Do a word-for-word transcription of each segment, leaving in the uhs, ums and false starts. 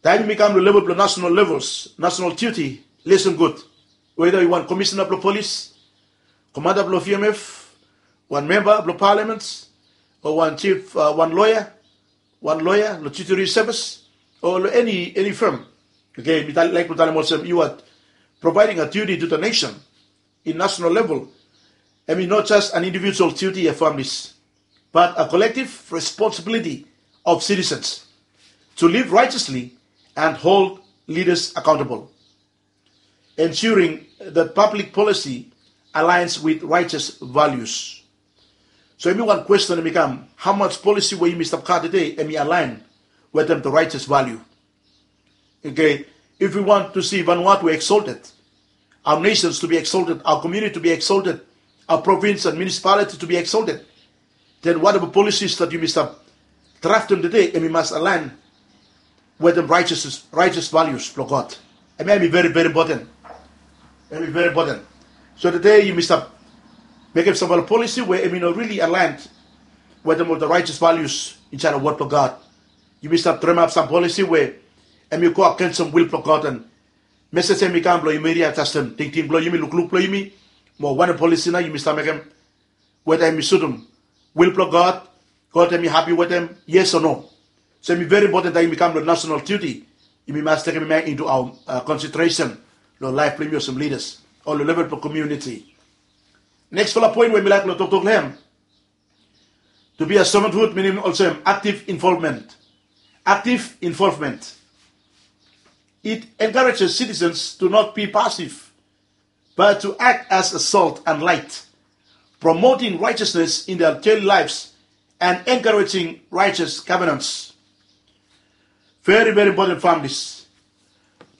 Taem yumi kam long level blong national levels, national duty, listen gud. Weda yu wan komisina blong polis, komanda blong V M F, wan memba blong paliament, o wan chief, uh, wan loya, wan loya long judiciary service, o long eni eni firm. Okay, mi laik blong talem olsem yu are providing a duty to the nation in national level. Hemi not just an individual duty of families, but a collective responsibility of citizens to live righteously and hold leaders accountable, ensuring that public policy aligns with righteous values. So hemi wan question hemi kam, how much policy we yumi stap gat tede hemi align wetem the righteous value? Okay, if we want to see Vanuatu exalted, our nations to be exalted, our community to be exalted, our province and municipality to be exalted, then whatever policies that yumi stap draftem tede, hemi mas align wetem righteous, righteous values blong God. Hemi, hemi very, very important. Hemi very important. So tede yumi stap mekem samfala policy we hemi no really aligned wetem ol the righteous values insaed long wod blong God. Yumi stap dremap sam policy we hemi go agensem will blong God, and mesej hemi kam blong yumi riajestem tingting blong yumi, lukluk blong yumi, mo wanem policy nao yumi stap mekem, weda hemi sutum will blong God, God hemi hapi wetem, yes o no. So hemi very important taem yumi kam long national duty, yumi mas tekem hemia into our, uh, consideration long laef blong yumi olsem leaders o long level blong community. Nexfala poen we mi laek long toktok long hem, to be a servanthood minim olsem active involvement. Active involvement. It encourages citizens to not be passive, but to act as a salt and light, promoting righteousness in their daily lives and encouraging righteous governance. Very, very important, families.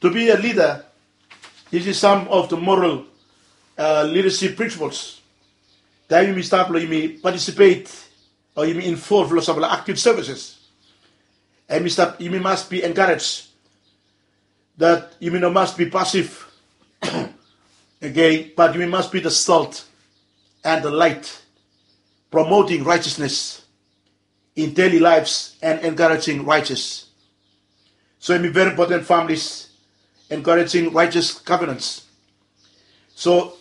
To be a leader, this is some of the moral, uh, leadership principles. Taem yumi stap long yumi participate o yumi involve long samfala active services, and yumi stap, yumi mas be encouraged that yumi no mas be passive. Okay, but yumi mas be the salt and the light, promoting righteousness in daily lives and encouraging righteous. So hemi very important, families, encouraging righteous governance. So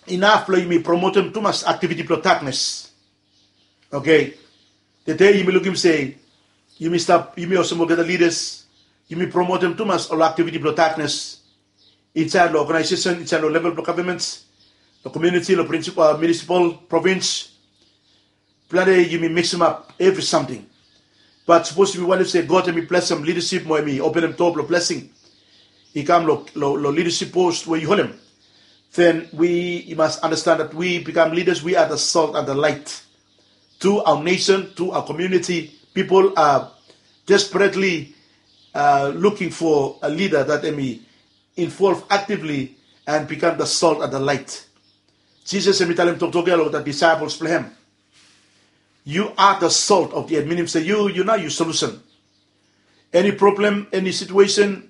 inaf blong yumi promotem tumas activity blong darkness. Okay, tede yumi lukim se yumi stap, yumi olsem olgeta leaders, yumi promotem tumas ol activity blong darkness insaed long organization, insaed long level blong government, long community, long principal, uh, municipal, province. Plante yumi miksimap evri samting. But sapos yumi wantem se God hemi blesem leadership mo hemi openem doa blong blessing i kam long, long, long leadership post we yu holem, then we, you must understand that we become leaders, we are the salt and the light to our nation, to our community. People are desperately, uh, looking for a leader that hemi involve actively and become the salt and the light. Jisas hemi talem toktok ia long the disciples blong hem, you are the salt of the earth, minim se yu, yu nao yu solution. Eni problem, eni situation,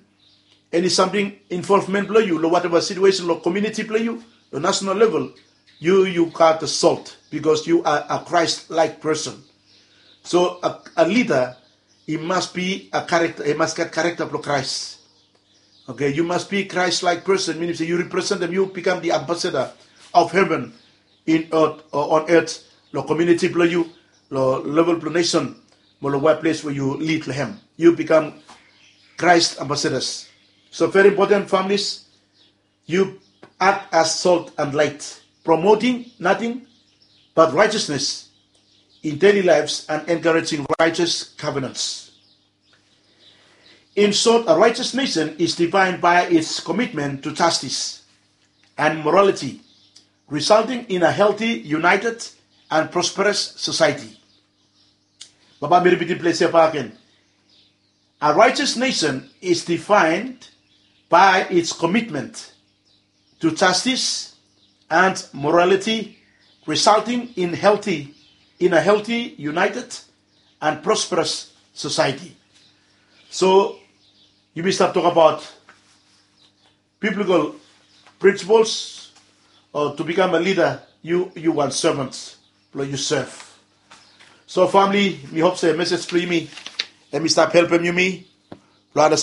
eni samting, involvement blong yu long whatever situation, long community blong yu, long national level, yu, you got the salt because you are a Christ-like person. So a, a leader, he must be a character, he must get character blong Christ. Okay, you must be Christ-like person, minim se yu representem, yu become the ambassador of heaven in earth, o on earth, long community blong yu, long level blong nation, mo long workplace we yu lead long hem. Yu become Christ ambassadors. So very important, families, you act as salt and light, promoting nothing but righteousness in daily lives and encouraging righteous governance. In short, a righteous nation is defined by its commitment to justice and morality, resulting in a healthy, united, and prosperous society. Bae mi ripitim ples ia bak gen. A righteous nation is defined by its commitment to justice and morality, resulting in healthy, in a healthy, united, and prosperous society. So yumi stap tokbaot biblical principles, o to become a leader, yu, yu wan servant blong yu serve. So famili, mi hop se mesej blong yumi hemi stap helpem yumi blong anastan